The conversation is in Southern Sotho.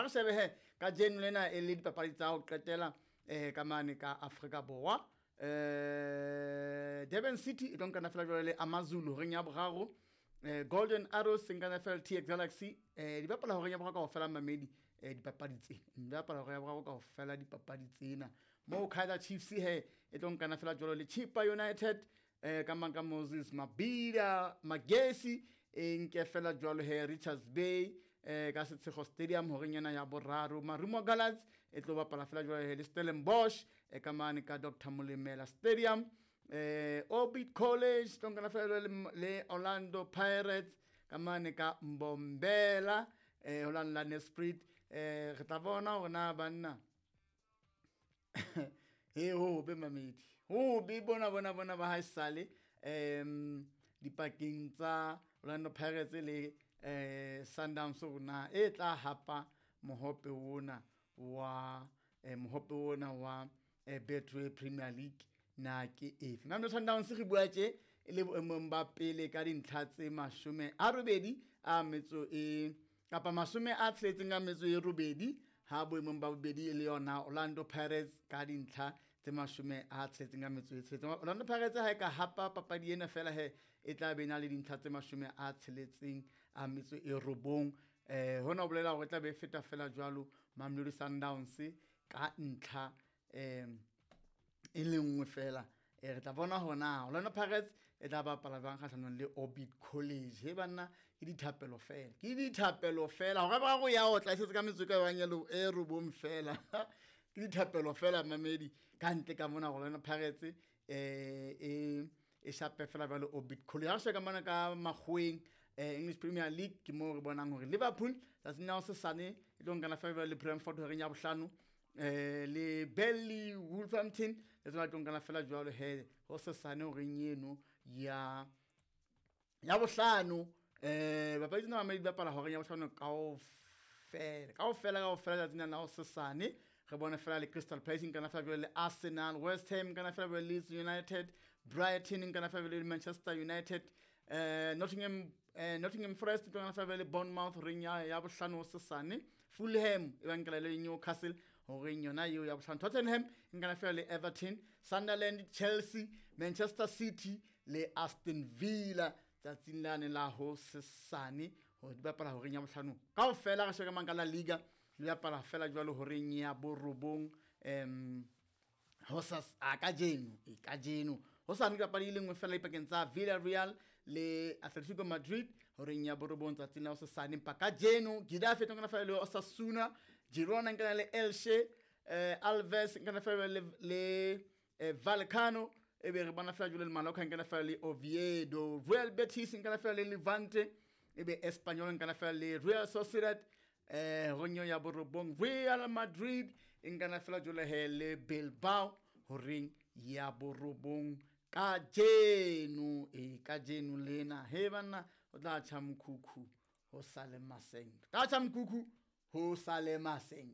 Re shebe he ka jeno lena e le dipapadi tsa ho qetela ka mane ka Afrika Borwa. Durban City e tlo nkana fela jwale le Amazulu horeng ya boraro. Golden Arrows e nkana fela le TX Galaxy. Di bapala horeng ya boraro kaofela mamedi, dipapadi tse di bapala horeng ya boraro kaofela dipapadi tsena. Moo Kaizer Chiefs he e tlo nkana fela jwalo le Chippa United, ka mang ka Moses Mabhida Magesi e nke fela jwalo he Richards Bay, ka Setshego Stadium horeng ena ya boraro. Marumo Gallants e tlo bapala fela jwalo he le Stellenbosch, ka mane ka Dr Molemela Stadium. Orbit College tlo nkana fela jwalo le Orlando Pirates ka mane ka Mbombela, ho la la Nelspruit. Re tla bona hore na banna he ho be mamedi ho be bona bona bona ba haesale dipakeng tsa Orlando Pirates le Sundowns hore na e tla hapa mohope ona wa mohope ona wa Betway Premier League na ke efe. Mamelodi Sundowns re bua tje e le boemong ba pele ka dintlha tse 88 a metso e kapa 68 a metso e robedi, ha boemong ba bobedi e le yona Orlando Pirates ka dintlha tse 66 a metso e tsheletseng. Orlando Pirates ha e ka hapa papadi ena fela he e tla be na le dintlha tse 69. Hona ho bolela hore e tla be e feta fela jwalo Mamelodi Sundowns ka ntlha e le nngwe fela. Re tla bona hore na Orlando Pirates e tla bapala jwang kgahlanong le Orbit College. He banna, ke dithapelo fela, ke dithapelo fela. Hore ba go ya otla e setse ka metso e ka bang e robong fela. Ke dithapelo fela mamedi ka ntle ka mona Orlando Pirates e shape fela jwalo Orbit College. Ha re sheba ka mona ka makgoweng, English Premier League ke moo re bonang hore Liverpool tsatsing la hosasane e tlo nkana fela jwalo le Brentford horeng ya bohlano, le Burnley, Wolverhampton le tsona tlo nkana fela jwalo he hosasane horeng eno ya bohlano. Bapadi tsena mamedi di bapala horeng ya bohlano kaofela, kaofela, kaofela tsatsing la hosasane. Re bone fela le Crystal Palace nkana fela jwalo le Arsenal, West Ham nkana fela jwalo le Leeds United, Brighton nkana fela jwalo le Manchester United, Nottingham Forest nkana fela jwalo le Bournemouth horeng ya bohlano hosasane. Fulham e ba nkela le Newcastle horeng yona eo ya bohlano. Tottenham nkana fela le Everton, Sunderland, Chelsea, Manchester City le Aston Villa tsatsing lane la hosasane hore di bapala horeng ya bohlano kaofela. Re sheba ka mang ka La Liga di bapala fela jwalo horeng ya borobong, hosas a kajeno, e kajeno hosane ke papadi e le nngwe fela dipakeng tsa Villarreal le Atletico Madrid horeng ya borobong tsatsing la hosasane. Empa kajeno Getafe e tlo nkana fela le Osasuna, Girona nkana le Elche, Alves nkana fela le Vallecano, e be re bona fela jwalo le Mallorca nkana fela le Oviedo, Real Betis nkana fela le Levante, e be Espanyol nkana fela le Real Sociedad, horeng ya borobong. Real Madrid e nkana fela jwalo he le Bilbao horeng ya borobong kajeno, e kajeno lena. He banna, o tla tjha mokhukhu ho sale maseng, tla tjha mokhukhu ho sale maseng.